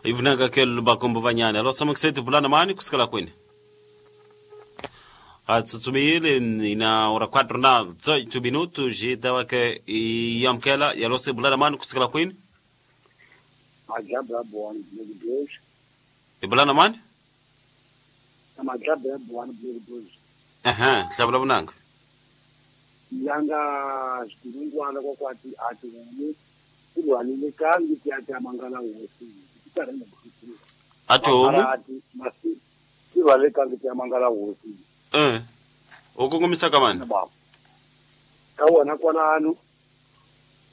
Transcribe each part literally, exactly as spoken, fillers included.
Ivunanga ke lubakombo vanyana. Alo samaksetu bulana mani kusikala kwini. Atsutsumile ina ora quatro na dezoito minutos e tava que yamkela yalose bulana mani kusikala kwini. Majabra boani blue dois. E bulana mani? Majabra boani blue dois. Aham, hlabula bunanga. Yanga xilungwana kwakwati ati wumi kulwanile kangi ti ati amangala hosi tikarhi ati homu ati tilwale kangi ti amangala hosi eh u kongomisa ka mani ka wona kwalano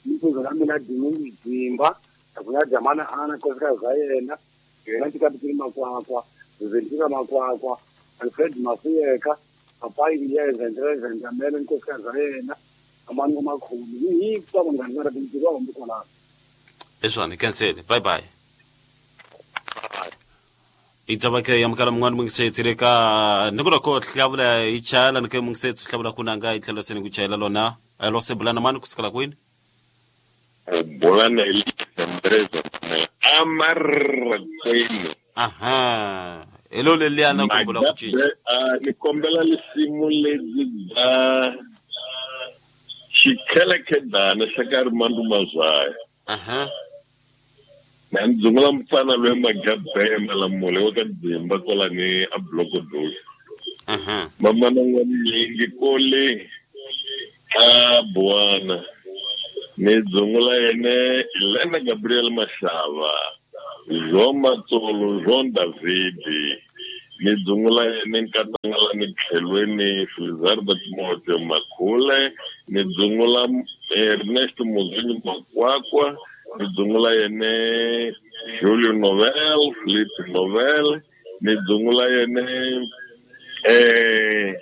mipfuzo la mina dini dzimba akuya jamana ana nkosikazi za yena yena tikapitili makwakwa Ventura makwakwa Alfred Mafuyeka papai yeza ndreza ndamele nkosikazi za yena amani makhulu hi kwa vanghana va tintirho wa kwalano leswani cancel bye bye itabake yamkala mun'wana mungisetsi ka nikula ko hlavula yi chayela ni ke mungisetsi hlavula kunanga yi tlhela seni ku chayela lona alo se bulana mani kusikala kwini bulana ndreza amarkwini aha elo leliana ku bula ku cinca ni kombela lisimu lebyi bya xikhelekhedana xa ka Rimando Mazaya aha na ndzungula mfana loyi Magabhe Malamule wa ka Dzimba kwalani a Block Dos aha mamana n'wanyingi kole a Buwana ni dzungula yene Elena Gabriel Mashava Jean Matsolo Jean David ni dzungula yene Nkatangala ni tlhelweni Filizardo Timoteo Makhule ni dzungula Ernesto Muzini Makwakwa ni dzungula yene Julio Novel Felipe Novel ni dzungula yene eh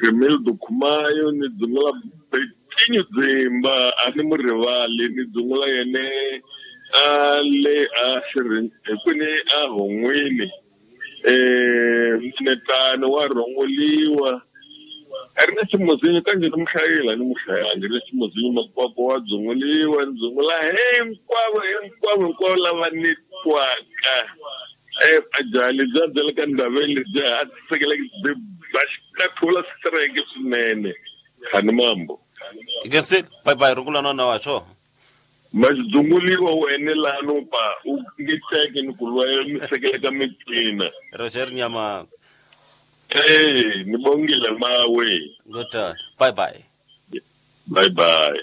Camille Dukumayo ni dzungula Betinho Dzimba a ni mu rivali ni dzungula yene a le a xirin kwini a hon'wini eh Mnetani wa rhongoliwa Ernest Muzinyo kanje ni muhlayela ni muhlayangi Ernest Muzinyo Makwakwa wa dzunguliwa ndzungula hinkwavo hinkwavo hinkwavo lava ni twaka eh ajali bya byela ka ndhaveni lebyi a tisekela bya xikathula strike swinene khani mambo ikensel bye bye rungula nona wa swo maxidzunguliwa u enelano pa u nge teke ni ku lwa mi sekela ka mitina Roger Nyama eh ni bongile mawe good bye bye bye bye.